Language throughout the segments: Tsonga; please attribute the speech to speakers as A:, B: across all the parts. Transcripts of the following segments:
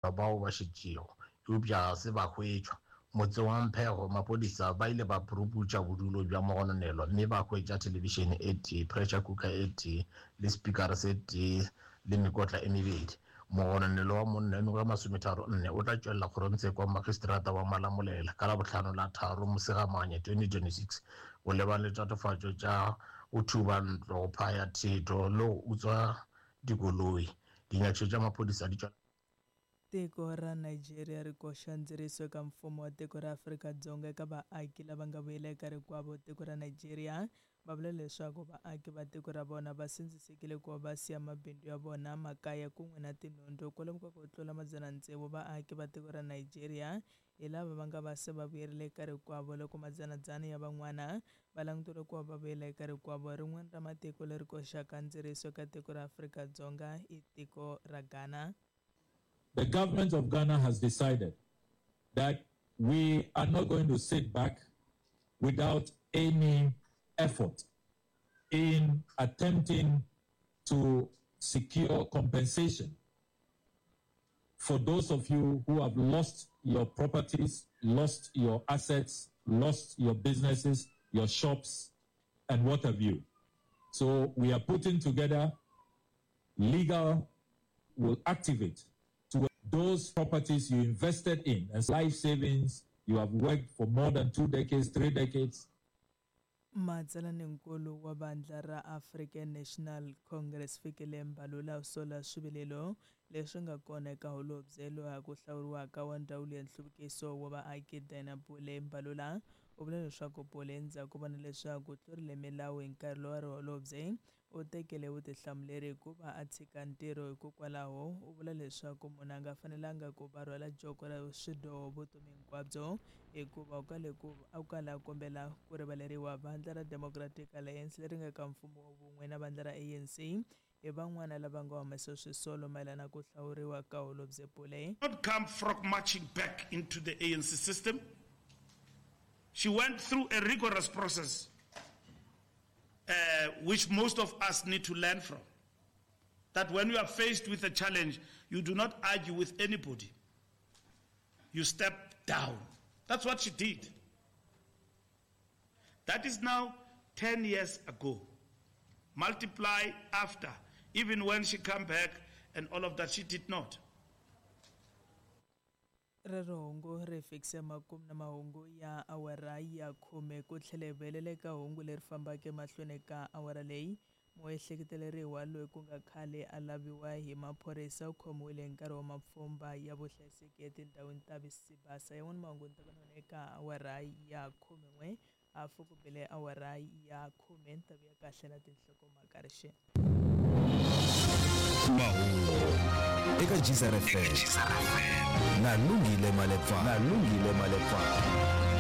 A: Bao ba šetšego, eupša ga se ba hwetšwa. Motseng wa Mphego, maphodisa ba ile ba puruputša bodulo bja mogononelwa mme ba hwetša thelebišene e tee, pressure cooker e tee le sepikara se tee le mekotla e mebedi. Mogononelwa wa monna yo mengwaga e masometharo-nne o tla tšwelela kgorongtsheko wa magistrata wa Malamulele ka Labohlano la tharo Mosegamanye 2026 go lebana le tatofatšo tša go thuba ntlo, go phaya thetho le go utswa dikoloi. Dinyakišišo tša maphodisa di tšwela.
B: Tiko ra Nigeria ri koxa ndzeriso eka mfumo wa tiko ra Afrika-Dzonga eka vaaki lava nga vuyela eka rikwavo tiko ra Nigeria. Va vula leswaku vaaki va tiko ra vona va sindzisekile ku va va siya mabindzu ya vona, makaya kun'we na tinhundzu. Kwalomu ka ku tlula madzana-tsevu vaaki va tiko ra Nigeria hi lava va nga va se va vuyerile eka rikwavo loko madzana-dzana ya van'wana va languteriwe ku va va vuyela eka rikwavo. Rin'wana ra matiko leri koxaka ndzeriso eka tiko ra Afrika-Dzonga i tiko ra Ghana.
C: The government of Ghana has decided that we are not going to sit back without any effort in attempting to secure compensation for those of you who have lost your properties, lost your assets, lost your businesses, your shops, and what have you. So we are putting together legal will activate to those properties you invested in as life savings. You have worked for more than two decades, three decades.
B: Matsalaninkulu wa vandla ra African National Congress Fikile Mbalula u sola swivilelo leswi nga kona eka holobye loyi ha ku hlawuriwaka wa Ndzawulo ya Nhluvukiso wa Vaaki Dinah Pule. Mbalula u vula leswaku Pule endzhaku ko vona leswaku u tlurile milawu hi nkarhi lowu a ri holobye, U tekele vutihlamuleri hi ku va a tshika ntirho hikokwalaho u vula leswaku munhu a nga fanelanga ku va rhwala joko ra swidyoho vutomi hinkwabyo hikuva u kale ku a kala a kombela ku rivaleriwa. Vandla ra Democratic Alliance leri nga ka mfumo wa vun'we na vandla ra ANC hi van'wana lava nga humesa swisolo mayelana ku hlawuriwa ka Holobye Pule.
D: Not come frog marching back into the ANC system. She went through a rigorous process uh, which most of us need to learn from. That when you are faced with a challenge, you do not argue with anybody. You step down. That's what she did. That is now 10 years ago. Multiply after. Even when she came back and all of that, she did not.
B: Rero hungu ri fikise makumu na mahungu ya awara ya khume ku tlhela hi vuyelela eka hungu leri fambaka emahlweni ka awara leyi. Muehleketeleriwa loyi ku nga khale a laviwa hi maphorisa u khomiwile hi nkarhi wa mapfhumba ya vuhlayiseki etindhawini ta Sibasa. Yan'wana mahungu ni ta va na wona eka awara ya khumen'we Hafu ku bile awara ya khume ni ta vuya kahle na tinhlokomhaka rixeni.
E: Mahungu eka Gzar FM na Lungile Malepfana. Na Lungile Malepfana.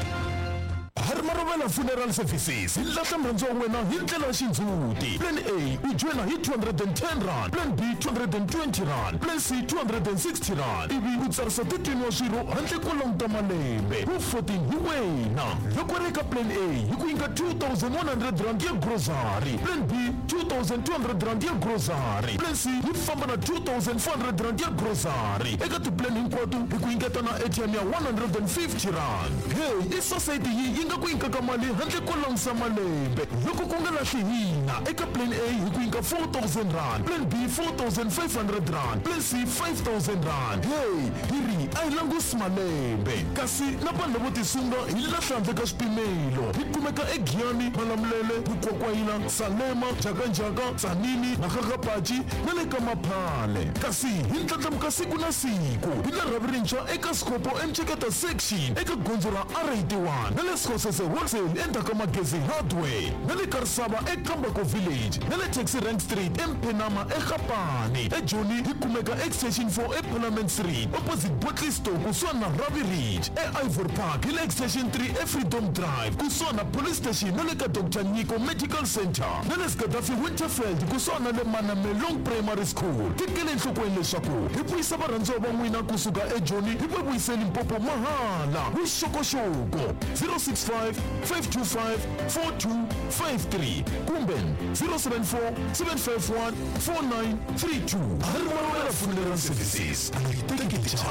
F: Harmarovela Funeral Services hi lahla murhandziwa wa wena hi ndlela ya xindzhuti. Plan A u joyina hi 210 rand, Plan B 220 rand, Plan C 260 rand ivi u tsarisa 13 wa swirho handle ko languta malembe. Wu 14 hi wena. Loko ri eka Plan A hi ku nyika 2100 rand ya grocery, Plan B 2200 rand ya grocery, Plan C yi famba na 2400 rand ya grocery. Eka ti-plan hinkwato hi ku nyiketa na airtime ya 150 rand. Hey, i society yi yi nga ku nyikaka mali handle ko langusa malembe. Loko ku nga lahli hina, eka Plan A hi ku nyika 4000 rand, Plan B 4500 rand, Plan C 5000 rand. Hey, hi ri a hi langusi malembe. Kasi na vanhu lavo tisunga hi lahla handle ka swipimelo. Hi kumeka eGiyani, Malamulele, Mukwakwayila, Salema, Njhakanjhaka, Tzaneen, Makgakgapachi na le ka Maphale. Kasi hi ndlandlamuka siku na siku. Hi na rhavi rintshwa eka Skhopho eMceketa Section eka gondzo ra R81 na le Skhosese Wholesale endzhaku ka Magezi Hardware na le Karisava eKambako Village na le Taxi Rank Street eMphenama eGapane. EJoni hi kumeka Extension 4 eParliament Street opposite Bottle Store kusuhani na Ravi Ridge. EIvory Park hi le Extension 3 eFreedom Drive kusuhani na Police Station na le ka Doctor Nyiko Medical Centre na le Sgadafi Winterveld kusuhani na le Manamelong Primary School. Tekela enhlokweni leswaku hi vuyisa varhandziwa va n'wina kusuka eJoni hi va vuyise eLimpopo mahala. Vuxokoxoko 065 525 4253 kumbe 074 751 4932. Harmalwela Funeral Services a yi teki tichava.